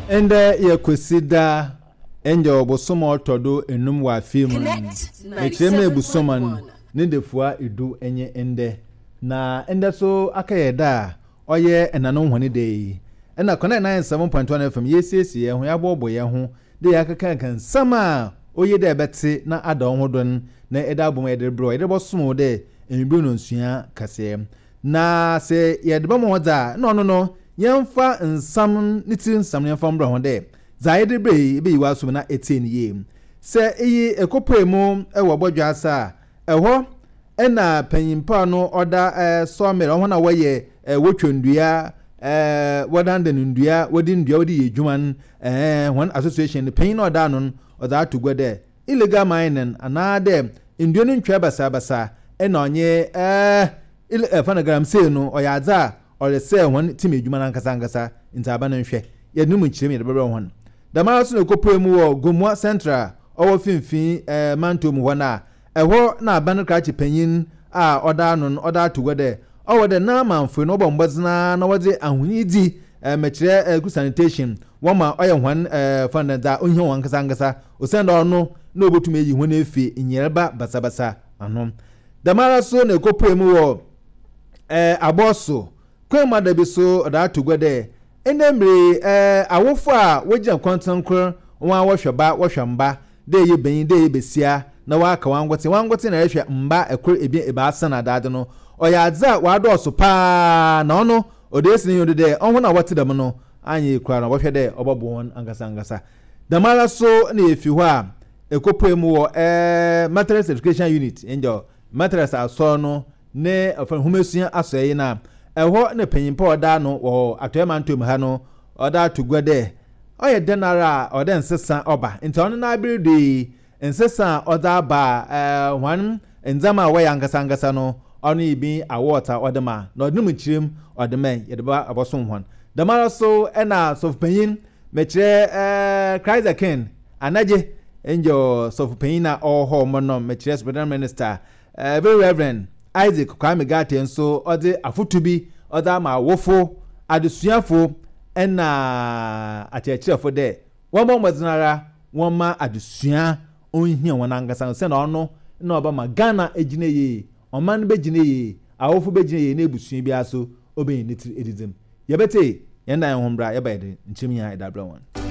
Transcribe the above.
Ndɛ yɛ Kwesida, ngyɛ ɔbosoom a ɔtɔ do enum wɔ afe mu no, mekyerɛ mu ebusoma no ne dafua du nye ndɛ. Na ndɛ so akɛyɛ da a ɔyɛ ɛnanom hɔn da yi. Nna Connect 97.1 FM yeesiesie hɛnho, yɛaboaboa hɛnho dɛ yɛakɛkã nsɛm a oye dɛ ebɛtse na ada woho do no na edze abɔ mu yɛdze rebrɛ wo, yɛdze robɔsom wo dɛ ewimbir ndɔnsuaa kaseɛ. Na sɛ yɛdze bɛma hɔn dze a, nna ɔno no yɛmfa nsɛm ne tsir nsɛm no yɛmfa mbra hɔn dɛ dza yɛdze rebrɛ yi ebeyi w'asomu na etsie no yie. Sɛ iyi ekopue mu wɔ bɔdwe ase a, ɛhɔ na panyin pa no ɔda sawmill, hɔn a wɔyɛ wotwa ndua, wɔdandan ndua, wɔdze ndua wɔdze yɛ edwuma no, hɔn association no panyin a ɔda ano no ɔdze ato gua dɛ illegal mining anaadɛ ndua no ntwa basabasa na ɔnye ɛɛ fa no galamsey no ɔyɛ adze a ɔresɛɛ hɔn tsim edwuma no ankasa ankasa ntsi aban nhwɛ yɛdze no mu nkyerɛmu yɛdze bɛbrɛ hɔn. Dɛmara so na ekopue mu wɔ Gomoa Central a ɔwɔ Finimfin mantɔw mu hɔ no a Ɛhɔ na aban krakye panyin a ɔda ano no ɔda ato gua dɛ ɔwɔ dɛ n'amamfoe no wɔbɔ mbɔdzen ara na wɔdze ahonyidzi mekyerɛ good sanitation wɔma ɔyɛ hɔn fa na dza ohia hɔn ankasa ankasa osiandɛ ɔno na obotum eyi hɔn efi nyarba basabasa ano. Dɛmara so na ekopue mu wɔ Abɔso Kwemada bi so ɔdze ato gua dɛ ndɛ mber yi awofo a wogyina kɔntsenkor hɔn a wɔhwɛ ba wɔhwɛ mba dɛ eyɛ banyin dɛ eyɛ basia na wɔaka wankotsee wankotsee na erehwɛ mba kor, ebien, ebiasa na adze no, ɔyɛ adze a ɔadɔɔ so paa na ɔno ɔdze esi n'enyiwa do dɛ hɔn a wɔtse dɛm no annyɛ yie koraa no ɔbɔhwɛ dɛ ɔbɔboa hɔn ankasa ankasa. Dɛmara so na yefi hɔ a ekopue mu wɔ Methodist Education Unit, nyew, Methodist Asɔr no ne ɔfrɛ no nhomasua asɔɛe no a, ɛhɔ na panyin pa a ɔda ano wɔ Atɔe Mantam ha no ɔda ato gua dɛ, ɔyɛ dɛn ara a ɔwɔ dɛ nsesa ɔba. Ntsi ɔno n'aber do yi, nsesa a ɔdze aba a hɔn ndzɛmba a wɔyɛ ankasa ankasa no, ɔno nye bi awards a ɔdze ma, na ɔdze no mu nkyerɛmu ɔdze ma yɛdze ba abɔsom hɔn. Dɛmara so na sɔfopanyin, mekyerɛ Christ the King, Anagye, nyew, sɔfopanyin a ɔwɔ hɔ mɔ no, mekyerɛ Superintendent Minister, Very Rev. Isaac Kwame Ghartey nso ɔdze afotu bi ɔdze ama awofo, adesuafo na akyerɛkyerɛfo dɛ wɔmbɔ mbɔdzen ara wɔmma adesua onhia hɔn ankasa osiandɛ ɔno na ɔbɛma Ghana egyina yie, ɔman no begyina yie, awofo begyina yie na ebusua biara so obenya ne tsir edzidzi mu. Yɛbɛtsie hɛn dan ho mbra yɛba yɛdze nkyerɛmu nyina yɛdze abrɛ hɔn.